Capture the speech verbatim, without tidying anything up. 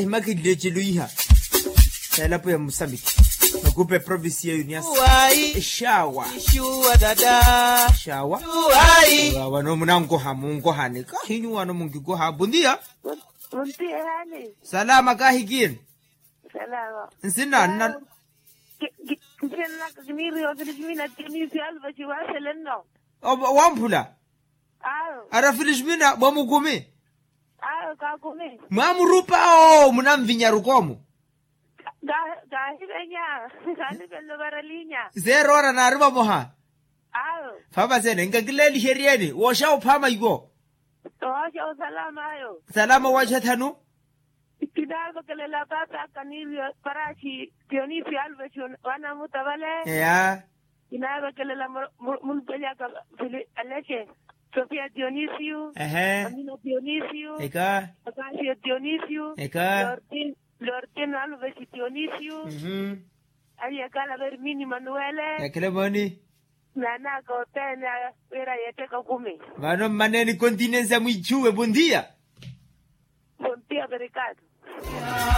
Ehimakilile ecelo iha sa elapo ya musambiki, makupa eprovinsi ya unias. Exawa. Exawa. Wano munankoha munkohani kahinyu wano munkikoha bundia. Salama kahikini. Nsina nna. Nsinna nna kimiri ofili kimina timisi alva ciwasele nno. Wamphula. Ara filixmina mwa mukumi. Mwaamurupa oo munanvinya rukoomu. Kaahivenya. Kaanivenle ovaralinya. Seeroora naari vamoha. Vavasene nkakileelixeryeeni wooxa ophaama iwo. Wooxa osalama ayo. Salama wooxa thanu. Kinavekelela paapa kaniiryo paraxi. Tiyonisi alves. Wana mutavale. Eya. Kinaavekelela mulupeli aka fili alexe. Sofia tiyonisiyu. Ehe. Amina tiyonisiyu. Eka. Akasiyo tiyonisiyu. Eka. Lortin alves tiyonisiyu. Aliyekala vermini manuwele. Ekele moni. Naanaka othene. Wira yetteka kumi. Vano mmaneeni continensa mwiichuwe bondia. Bondia verikatu.